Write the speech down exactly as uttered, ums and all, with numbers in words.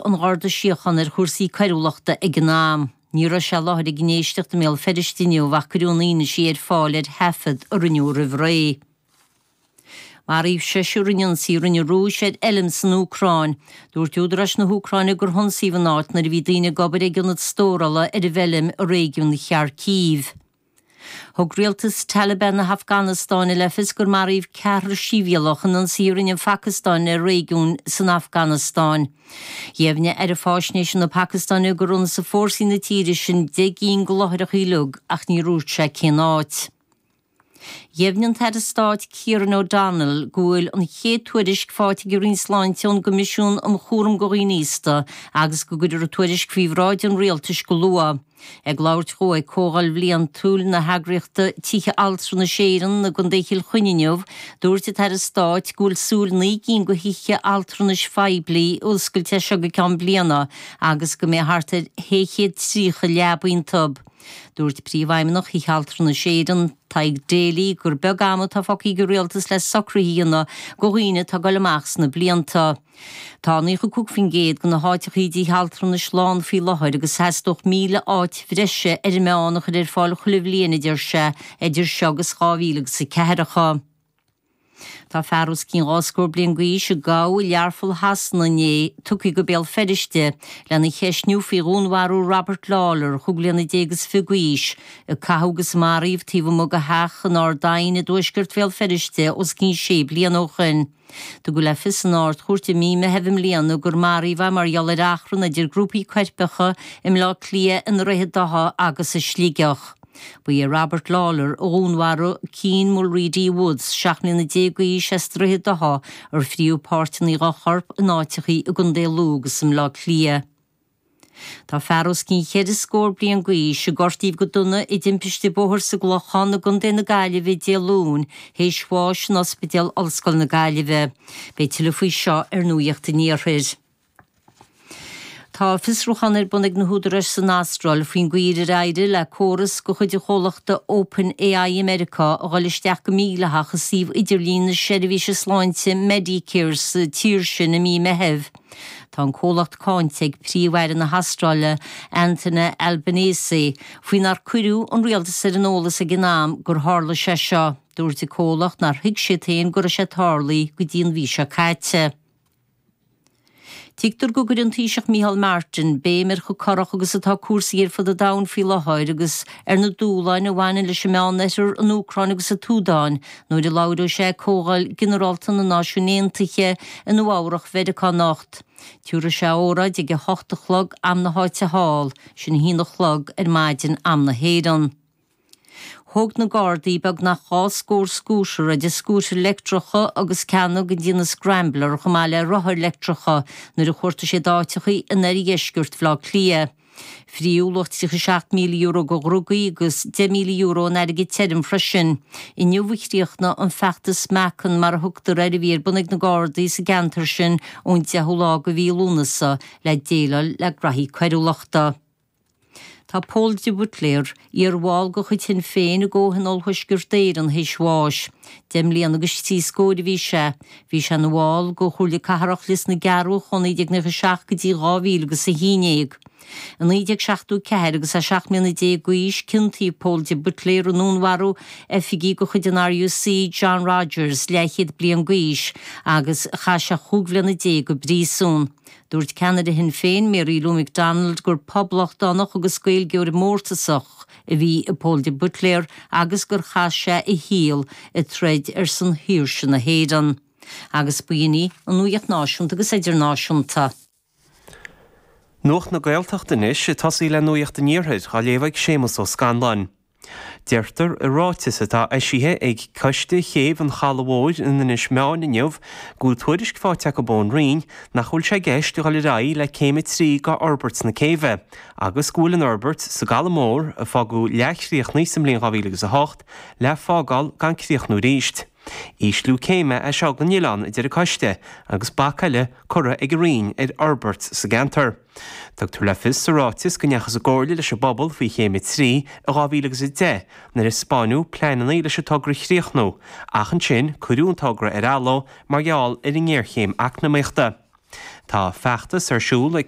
an Gharda Síochána ar chúrsaí coiriúlachta ag an am. Ní raibh sé i láthair ag an éisteacht i mBéal Feirste inniu ach cuireadh an fhianaise ar fáil ar thaifead a rinneadh roimh ré. Maraíodh seisear in ionsaí a rinne an Rúis ar fheilm san Úcráin. Dúirt údaráis na hÚcráine gur hionsaíodh an áit nuair a bhí daoine ag obair ag ionad stórála ar an bhfeilm i réigiún Kharkiv. Thug rialtas Taliban na hAfganastáine le fios gur maraíodh ceathrar sibhialtach in ionsaí a rinne an Phacastáin ar réigiún san Afganastáin. Dheimhnigh Aire Faisnéise na Pacastáine gur ionsaigh fórsaí na tíre sin deich gcinn de láithreacha uilig ach níor dhúirt sé cén áit. Dheimhnigh an tAire Stáit Kieran O'Donnell go bhfuil an chéad tuairisc faighte ag an Roinn Sláinte ón gCoimisiún um Chúram do Dhaoine Aosta agus go gcuirfear an tuairisc faoi bhráid an rialtais go luath. Ag labhairt dó ag Comhdháil Bhliantúil na heagraíochta Tithe Altranais Éireann i gContae Chill Chainnigh inniu, dúirt an tAire Stáit go bhfuil súil naoi gcinn de thithe altranais phoiblí a oscailt as seo go ceann bliana agus go mbeidh thart ar shé chéad tríocha leaba iontu. Dúirt Príomhfheidhmeannach Thithe Altranais Éireann, Tadhg Daly, gur beag am atá fágtha ag an rialtas le socruithe a dhéanamh do dhaoine atá ag dul amach sna blianta. Tá naocha cúig faoin gcéad de na háiteachaí i dtithe altranais lán faoi láthair agus theastódh míle áit bhreise ar an meán a chur ar fáil chuile bhliain, a deir sé, idir seo agus dhá mhíle agus a ceathracha. Tá fear os cionn dhá scór bliain d'aois a gabhadh i Learpholl Shasana inné tugtha go Béal Feirste lena cheistniú faoi dhúnmharú Robert Lawlor, chúig bliana déag is fiche d'aois, a caitheadh agus a maraíodh taobh amuigh de theach in Ard Aidhin i dtuaisceart Bhéal Feirste os cionn sé bliana ó shin. Tugadh le fios san Ard-Chúirt i mí Meithimh i mbliana gur maraíodh é mar gheall ar achrann idir grúpaí coirpeacha i mBleá Cliath, i nDroichead Átha agus i Sligeach. Ba é Robert Lawlor a dhúnmharaigh Cian Mulready Woods, seacht mbliana déag d'aois as Droichead Átha, ar fríodh páirteanna dá chorp in áiteachaí i gContae Lú agus i mBleá Cliath. Tá fear os cionn cheithre scór bliain d'aois a gortaíodh go dona i dtimpiste bóthair sa gClochán i gContae na Gaillimhe Dé Luain théis bháis in Ospidéal Ollscoil na Gaillimhe. Beidh tuilleadh faoi seo ar Nuacht an Iarthair. Tá fiosrúchán ar bun ag na húdaráis san Astráil faoin gcaoi ar éirigh le córas de chuid an chomhlachta OpenAI i Meiriceá a dhul isteach go mídhleathach i suíomh idirlín na seirbhíse sláinte Medicare sa tír sin i mí Meithimh. Tá an comhlacht cáinte ag Príomh-Aire na hAstráile Anthony Albanese faoi nár cuireadh an rialtas ar an eolas ag an am gur tharla sé seo. Dúirt an comhlacht nár thuig siad féin go raibh sé tarlaithe go dtí an mhí seo caite. Tuigtear go gcuirfidh an Taoiseach Micheál Martin béim ar chomh corrach agus atá cúrsaí ar fud an domhain faoi láthair agus ar na dúshláin a bhaineann leis an Meánoirthear, an Úcráin agus an tSúdáin nuair a labhróidh sé ag Comhdháil Ginearálta na Náisiún Aontaithe i Nua Eabhrac Mheiriceá anocht. Tabharfaidh sé óráid ag a hocht a chlog am na háite thall, sin a haon a chlog ar maidin am na hÉireann. Thóg na Gardaí beagnach dhá scór scútar, idir scútair leictreacha agus ceanna den déanamh Scrambler chomh maith le rothair leictreacha nuair a chuartaigh siad áiteachaí in oirdheisceart Bhaile Átha Cliath. Fríodh luach tríocha seacht míle euro de dhrugaí agus deich míle euro in airgead tirim freisin. Inniu a chríochnaigh an feachtas Meacan mar a thugtar air a bhí ar bun ag na Gardaí sa gceantar sin ón deichiú lá de mhí Lúnasa le déileáil le graithí coiriúlachta. Tá Pól de Buitléar, iarbhall de chuid Shinn Féin i gComhthionól Thuaisceart Éireann théis bháis. Deich mbliana agus trí scóir a bhí sé. Bhí sé ina bhall de Chomhairle Cathrach Lios na gCearrbhach ó naoi déag nócha seacht go dtí dhá mhíle agus a haon déag. I naoi déag seachtó ceathair agus é seacht mbliana déag d'aois, ciontaíodh Pól de Buitléar i ndúnmharú oifigigh de chuid an RUC, John Rogers, leathchéad bliain d'aois, agus chaith sé chúig bhliana déag i bpríosún. Dúirt ceannaire Shinn Féin, Mary Lou McDonald, gur poblachtánach agus Gaeilgeoir mórtasach a bhí i Pól de Buitléar agus gur chaith sé a shaol ag troid ar son shaoirse na hÉireann. Agus b'in í an nuacht náisiúnta agus idirnáisiúnta. Nuacht na Gaeltachta anois, ag tosaí le Nuacht an Iarthair, á léamh ag Séamus Ó Scanláin. Deirtear i ráiteas atá eisithe ag Coiste Chéibh an Chalaidh Mhóir in Inis Meáin inniu go bhfuil tuairisc faighte acu ón Roinn nach bhfuil sé i gceist a dhul ar aghaidh le céim a trí d'fhorbairt na céibhe agus go bhfuil an fhorbairt sa gCaladh Mór, a fágadh leathchríochnaithe sa mbliain dhá mhíle agus a hocht, le fágáil gan críochnú arís. Ísliú céime é seo don oileán, a deir an coiste, agus bac eile curtha ag an Roinn ar fhorbairt sa gceantar. Tugtar le fios sa ráiteas go ndeachthas i gcomhairle leis an bpobal faoi Chéim a trí i dhá mhíle agus a deich nuair a 'spáineadh pleananna leis an togra a chríochnú, ach ansin cuireadh an togra ar athló mar gheall ar an ngéarchéim eacnamaíochta. Tá feachtas ar siúl ag